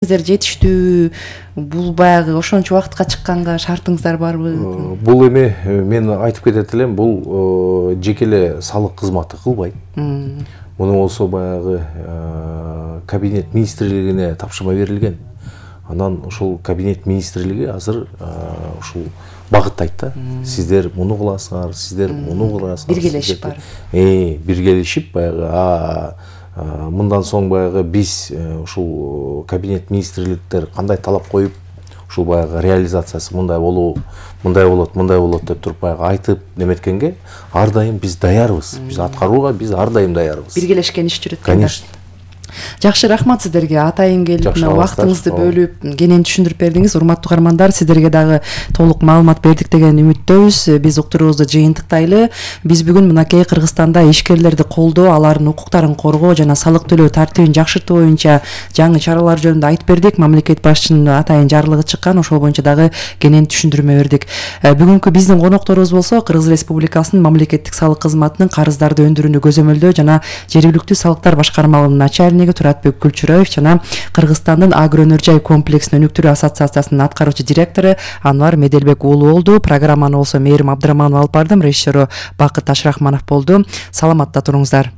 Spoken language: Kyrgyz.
Сиздер жетиштүү бул баягы ошончо убакытка чыкканга шартыңыздар барбы? Бул эми мен айтып кетет элем, бул жеке эле салык кызматы кылбайт. Муну болсо баягы кабинет министрлигине тапшырма берилген. Анан ушул кабинет министрлиги азыр ушул багыттайт да. Сиздер муну кыласыңар, сиздер муну кыласыңар. Биргелешип бар. Биргелешип баягы мындан соң баягы биз ушул кабинет министрликтер кандай талап коюп, ушул баягы реализациясы мындай болот деп туруп баягы айтып неметкенге ар дайым биз даярбыз. Биз аткарууга биз ар дайым даярбыз. Биргелешкен иш жүрөт. Конечно. Жакшы, рахмат сиздерге. Атайын келип, убактыңызды бөлүп, кенен түшүндүрүп бердиңиз. Урматтуу каармандар, сиздерге дагы толук маалымат бердик деген үмүттөбүз. Биз уктуруубузду жыйынтыктайлы. Биз бүгүн мынакей Кыргызстанда ишкерлерди колдоо, алардын укуктарын коргоо жана салык төлөө тартибин жакшыртуу боюнча жаңы чаралар жөнүндө айтып бердик. Мамлекет башчынын атайын жарлыгы чыккан, ошол боюнча дагы кенен түшүндүрмө бердик. Бүгүнкү биздин конокторубуз болсо Кыргыз Республикасынын мамлекеттик салык кызматынын карыздарды өндүрүүнү көзөмөлдөө жана жергиликтүү салыктар башкармалыгынын начальниги Туратбек Күлчүрөев жана Кыргызстандын агроөнөр-жай комплексин өнүктүрүү ассоциациясынын аткаруучу директору Анвар Меделбек уулу болду. Программаны болсо Мээрим Абдыраманова алып бардым, режиссеру Бакыт Ашрахманов болду. Саламатта туруңуздар.